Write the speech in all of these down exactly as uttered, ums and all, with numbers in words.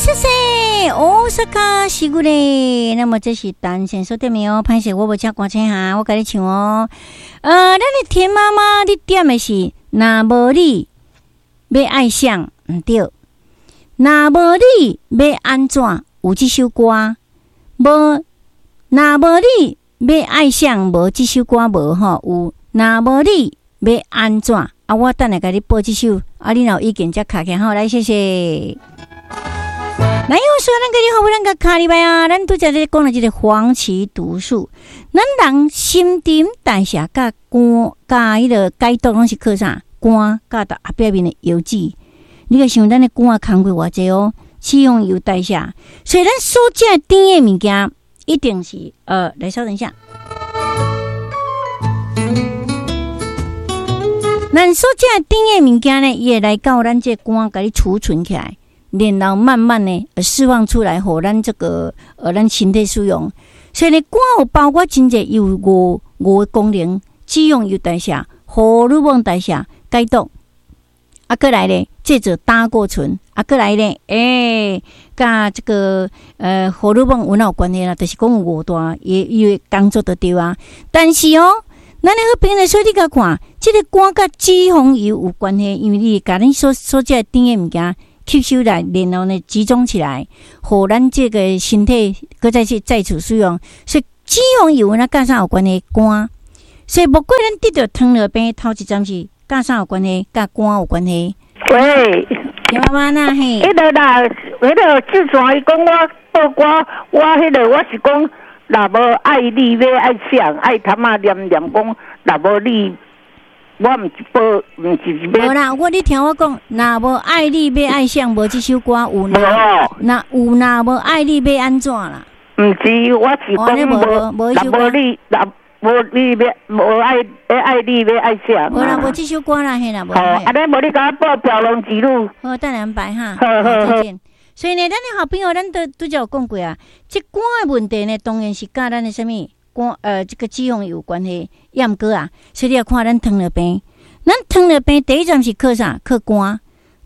謝謝大阪時久嘞。那麼這是單身所點的哦，歹勢我無請歌星哈，我共你唱哦。呃，咱的田媽媽，你點的是若無你欲愛誰，毋對。若無你欲按怎？有這首歌無？若無你欲愛誰？無這首歌無吼？有若無你欲按怎？啊，我等下共你播這首，啊，你若有意見才敲起來吼，來，謝謝。來，我說咱個你好，咱個卡入來啊！咱拄才咧講了這個黃芪毒素，咱人新陳代謝佮肝佮彼个解毒攏是靠啥？肝佮後壁面的油脂。你個想咱的肝工課偌濟哦，脂肪油代謝，所以咱所食甜的物件，一定是呃，來稍等一下。咱所食甜的物件呢，伊會來到咱這肝，共你儲存起來。然後慢慢呢，釋放出來，予咱這個呃，咱身體使用。所以呢，肝有包括真濟有五五個功能：脂肪油代謝、荷爾蒙代謝、解毒。啊，閣來咧，製造膽固醇。啊，閣來咧，欸，佮這個呃荷爾蒙有哪有關係啦？就是講有五大伊伊的工作就對啊。但是哦，咱的好朋友，所以你共看，這個肝佮脂肪油有關係，因為你共恁所所食的甜的物件吸收來，然後呢集中起來，予咱這個身體閣再去再次使用。所以脂肪油那佮啥有關係？肝。所以莫怪咱得著糖尿病，頭一站是佮啥有關係？佮肝有關係。喂，田媽媽那嘿，彼个啦，彼个志全伊講我報歌，我彼个我是講，若無愛你欲愛誰？愛潭仔念念講，若無你。我毋是報，毋是欲。無啦，我你聽我講，若無愛你欲愛誰？無這首歌有。若有若無愛你欲按怎啦？毋是，我是講無，若無你，若無你欲無愛，欲愛你欲愛誰？無啦，無這首歌啦，嘿啦，無。好，按呢無你共我報飄浪之女。好，等下安排哈。好好好。再見。所以呢，咱的好朋友，咱都拄才有講過啊。這肝的問題呢，當然是佮咱的啥物？肝呃，這個脂肪有關係，抑毋過啊，所以你也看咱糖尿病，咱糖尿病第一站是靠啥？靠肝，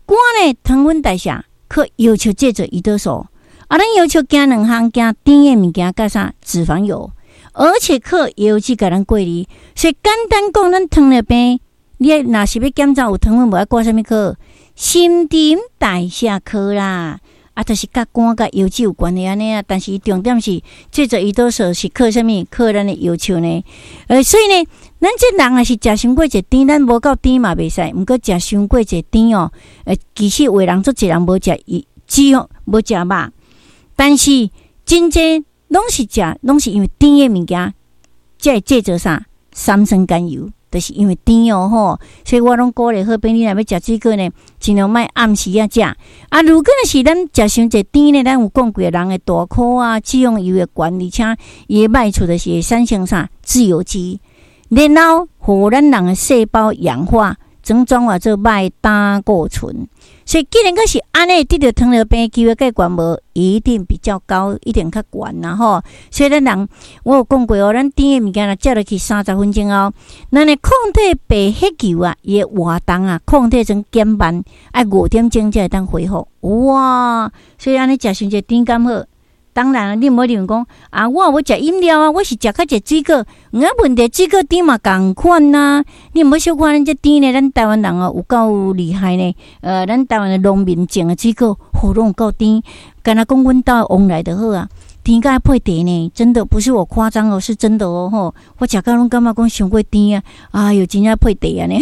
肝呢糖分代謝，靠要求製造胰島素。啊，咱要求驚兩項，驚甜的物件，佮啥脂肪油，而且靠油脂共咱過濾。所以簡單講，咱糖尿病，你若是欲檢查有糖分無，愛掛啥物科？新陳代謝科啦。啊，就是佮肝佮油脂有關係按呢啊，但是重點是製造胰島素是靠啥物？靠咱的藥手呢？呃，所以呢，咱這人若是食傷過濟甜，咱無夠甜嘛袂使，毋過食傷過濟甜哦，呃，其實有的人足濟人無食脂肪，無食肉，但是真濟攏是食，攏是因為甜的物件，才會製造啥？三酸甘油。就是因為甜哦吼，所以我攏鼓勵好朋友，你若欲食水果呢，盡量莫暗時仔食。啊，如果若是咱食傷濟甜呢，咱有講過人的大箍啊，脂肪油會懸，而且伊的歹處就是會產生啥自由基，然後予咱人的細胞氧化，轉轉化做歹膽固醇。所以既然閣是按呢，得著糖尿病機會較懸無？一定比較高，一定較懸啦吼。所以咱人，我有講過哦，咱甜的物件若食落去三十分鐘後，咱的抗體白血球啊，伊的活動啊，抗體陣減慢，愛五點鐘才會當恢復。哇！所以按呢食傷濟甜敢好？當然，你毋好認為講啊，我有食飲料啊，我是食較濟水果。毋過問題水果甜嘛仝款啊。你毋好小看咱這甜呢，咱台灣人哦有夠厲害呢。呃，咱台灣的農民種的水果，吼攏有夠甜。敢若講阮兜的旺來就好啊，甜甲愛配茶呢，真的不是我誇張哦，是真的哦吼。我食到攏感覺講傷過甜啊，哎喲，真正配茶按呢。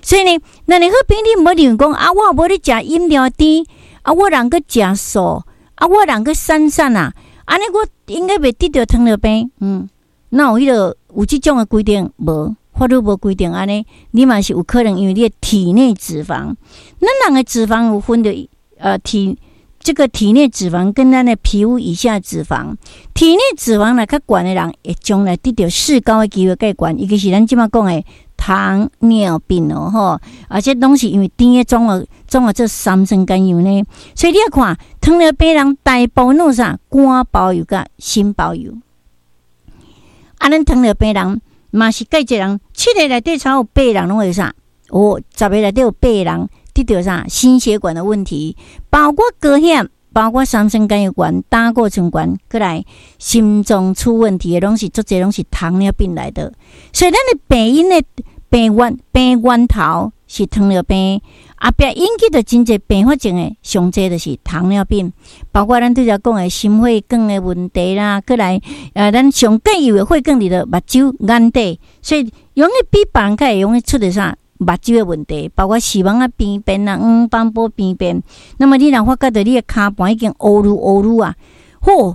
所以呢，咱的好朋友你毋好認為講啊，我無咧食飲料甜，啊，我人閣食素。啊，我人閣瘦瘦啊，按呢我應該袂得著糖尿病。嗯，哪有彼个有這種的規定？無，法律無規定按呢，你嘛是有可能，因為你的體內脂肪，咱人的脂肪有分著，呃，體這個體內脂肪跟咱的皮膚以下脂肪，體內脂肪若較懸的人，會將來得著四高的機會較懸，尤其是咱這馬講的糖尿病哦吼，而且攏是因為甜的轉化轉化做三酸甘油呢，所以你愛看糖尿病人大部分攏啥肝包油佮心包油。啊，咱糖尿病人嘛是蓋濟人，七个內底差有八个人攏會啥？哦，十个內底有八個人得著啥心血管的問題，包括高血壓。包括三酸甘油懸、膽固醇懸，閣來心臟出問題的，攏是足濟攏是糖尿病來的。所以咱的病因的病源病源頭是糖尿病，後壁引起著真濟併發症的，上濟就是糖尿病，包括咱拄才講的心血管的問題啦，閣來呃，咱上介意的血管佇著目睭眼底，所以容易比別人較會容易出著啥？目睭的問題，包括視網仔病變啊、黃斑部病變。那麼你若發覺著你的跤盤已經烏魯烏魯啊，嚯，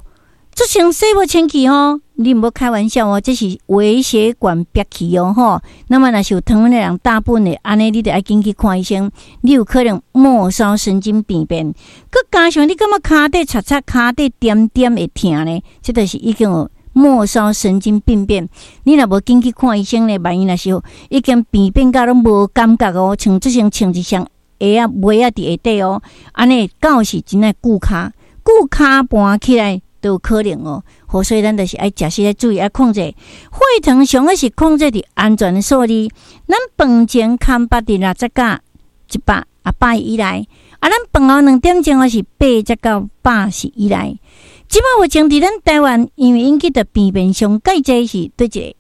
這像洗無清氣吼，你毋好開玩笑哦，這是微血管煏去哦吼。那麼若是有糖分的人，大部分的按呢，你著愛緊去看醫生，你有可能末梢神經病變。閣加上你感覺跤底擦擦，跤底點點會疼呢，這就是已經有末梢神經病變。你若無緊去看醫生呢，萬一若是已經病變甲攏無感覺哦，像這像穿一雙鞋仔襪仔佇下底哦，按呢到時真愛久跤，久跤盤起來都有可能哦。好，所以咱就是愛食時愛注意愛控制血糖，上好是控制佇安全的數字。咱飯前空腹佇六十到一百啊百以內，啊，咱飯後兩點鐘是八十到百十以內。這擺目前佇咱台灣，因為引起著病變上蓋濟是佗一个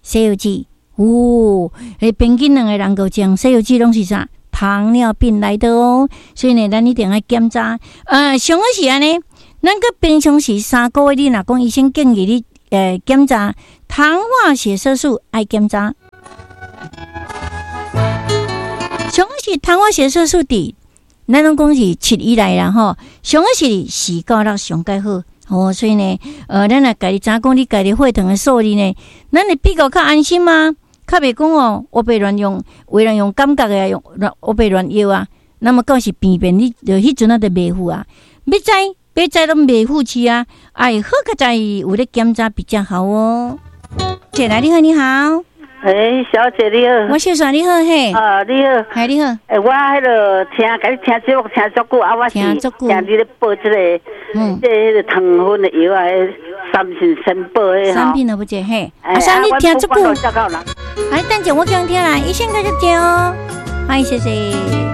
西藥劑？哦，彼平均兩个人夠講西藥劑攏是啥？糖尿病來的哦。所以呢，咱一定愛檢查。呃，上好是按呢，咱閣平常時三個月，你若講醫生建議你呃檢查糖化血色素，愛檢查。上好是糖化血色素佇咱攏講是七以內啦吼，上好是四到六上蓋好哦。所以呢，呃，咱若家己知影講你家己血糖的數字呢，咱會比較較安心嗎？較袂講哦，烏白亂用，有人用感覺的用亂烏白亂藥啊。那麼到時病變，你就彼陣仔就袂赴啊。欲知欲知攏袂赴去啊。哎，好佳哉有咧檢查比較好哦。姐來，你好，你好。欸，小姐你好。我秀莎你好嘿。啊，你好。嘿，你好。欸，我彼个聽，共你聽節目聽足久啊，我是聽你咧報這個，嗯，這彼個糖分的藥啊，三信三寶的吼。三品都不這嘿。阿三，你聽足久。哎，等陣我講聽啦，醫生繼續講哦。歡迎謝謝。